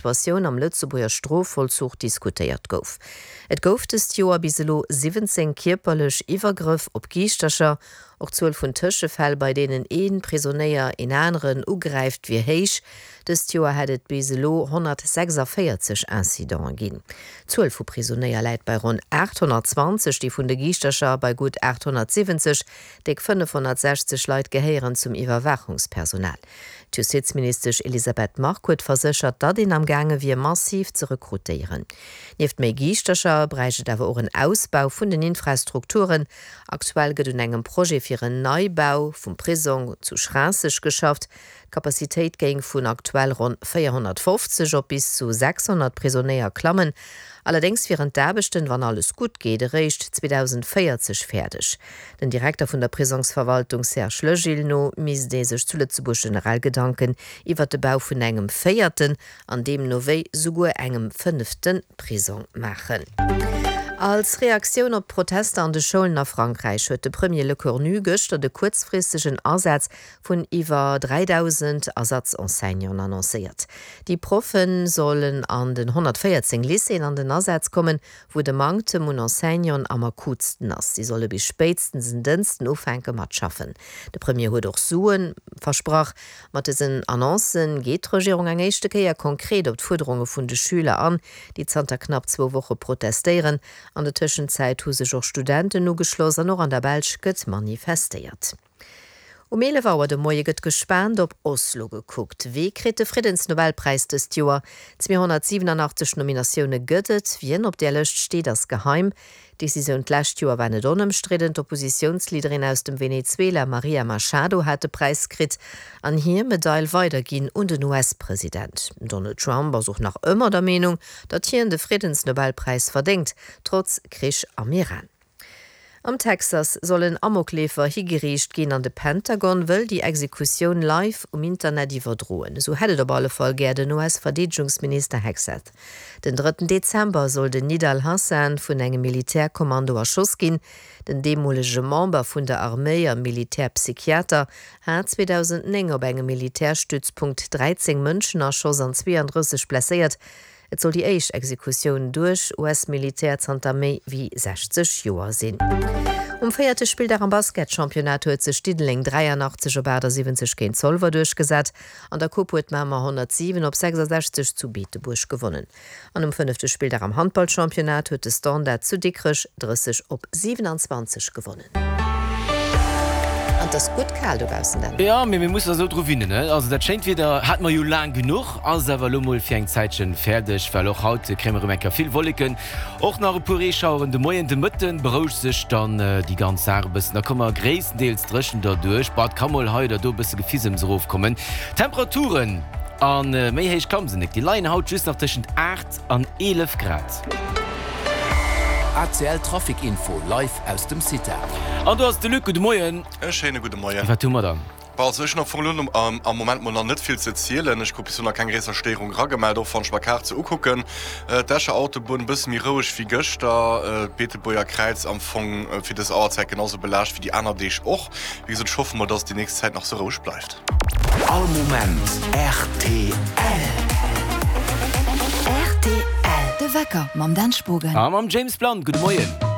Situatioun am Lëtzebuerger Strofvollzuch diskutéiert gouf. Et gouf dëst Joer bis elo 17 kierperlech Iwwergrëff op Giischtercher. Och d'Zuel vun Tëschefäll, bei deenen ee Prisonéier een aneren ugräift, wier héich. Dëst Joer hätt et bis elo 146 Incidenten ginn. D'Zuel vu Prisonéier läit bei ronn 820, déi vun de Giischtercher bei gutt 870. Déck 560 Leit gehéieren zum Iwwerwaachungspersonal. D'Justizministesch Elisabeth Margue huet verséchert, datt een am gaange wier massiv ze rekrutéieren. Nieft méi Giischtercher bräicht et awer och en Ausbau vun den Infrastrukturen. Aktuell gëtt un engem Projet fir en Neibau vum Prisong zu Schraasseg geschafft. D'Capacitéit géing vun aktuell ronn 450 op bis zu 600 Prisonéier klammen. Allerdéngs wieren d'Aarbechten, wann alles gutt geet, eréischt 2040 fäerdeg. Den Direkter vun der Prisongsverwaltung Serge Legil no misst ee sech zu Lëtzebuerg generell Gedanken iwwert de Bau vun engem véierten an deemno wéi souguer engem fënnefte Prisong maachen. Als Reaktioun op d'Protester an de Schoulen a Frankräich huet de Premier Lecornu gëschter de kuerzfristegen Asaz vun iwwer 3.000 Ersatz-Enseignanten annoncéiert. Déi Proffe sollen an den 114 Lycéeën an den Asaz kommen, wou de Manktem un Enseignanten am akutsten ass. Si solle bis spéitstens en Dënsten ufänke mat schaffen. De Premier huet och Sue versprach. Mat dësen Annoncë geet d'Regierung eng éischte Kéier konkret op d'Fuerderunge vun de Schüler an, déi zanter knapp zwou Woche protestéieren. An der Tëschenzäit hu sech och Studenten ugeschloss an och an der Belsch gëtt manifestéiert. Um 11 Auer de Moie gëtt gespaant op Oslo gekuckt. Wee kritt de Friddensnobelpräis dëst Joer? 287 Nominatioune gëtt et. Wien op där Lëscht steet, ass geheim. D'Decisioun d'lescht Joer war net onëmstridden. D'Oppositiounsleaderin aus dem Venezuela Maria Machado hat de Präis kritt an hir Medail weiderginn un den US-President. Den Donald Trump ass och nach ëmmer der Meenung, datt hien de Friddensnobelpräis verdéngt, trotz Krich am Iran. Am Texas soll en Amokleefer higeriicht ginn an de Pentagon wëll déi Exekutioun live um Internet iwwerdroen. Esou hätt et op alle Fall gär den US-Verdeedegungsminister Hegseth. Den drëtten Dezember soll den Nidal Hassan vun engem Militärkommando erschoss ginn. Den deemolege Member vun der Arméi a Militärpsychiater hat 2009 op engem Militärstützpunkt 13 Mënschen erschoss an 32 blesséiert. Et soll déi éischt Exekutioun duerch US-Militär zanter méi wéi 60 Joer sinn. Um véierte Spilldag am Basketchampionnat huet sech Diddeleng 83 op 78 géint Zolwer duerchgesat. An der Coupe huet Mamer 107 op 66 zu Beetebuerg gewonnen. An um fënnefte Spilldag am Handballchampionnat huet de Standard zu Dikrech 30 op 27 gewonnen. An 't ass gutt kal dobaussen, Dan. Jo, mee mir mussen eis elo dru winnen, ne? Also dat schéint Wieder hate mer jo laang genuch, ass awer elo mol fir eng Zäitchen fäerdeg, well och haut kréie mer erëm eng Kéier vill Wolleken, och nach e puer Reeschaueren de Moien. De Mëtten berouegt sech dann déi ganz Saach e bëssen, da komme mer gréisstendeels dréchen derduerch. Bon, et ka mol hei oder do e bësse Gefisems erofkommen. D'Temperaturen, a méi héich klamme se net, déi leien haut just nach tëschent 8. An 11 Grad. ACL Trafic Info live aus dem CITA. An do ass de Luc. Gudde Moien. E schéine gudde Moien. Wat hu mer dann? Bon, also ech hunn am Fong elo am Moment mol nach net vill ze zielen. Ech krut bis elo nach keng gréisser Stéierung eragemellt, och wann ech mer Kaart se ukucken. D'Escher Autobunn e bësse méi roueg wéi gëschter. D'Beetebuerger Kräiz am Fong fir dës Auerzäit genau sou belaascht wéi déi aner Deeg och. Wéi gesot, ech hoffe mol, dass et déi nächst Zäit nach sou roueg bleift. All Moment rtl. Rtl, De Wecker mam Dan Spogen. A mam James Blunt. Gudde Moien.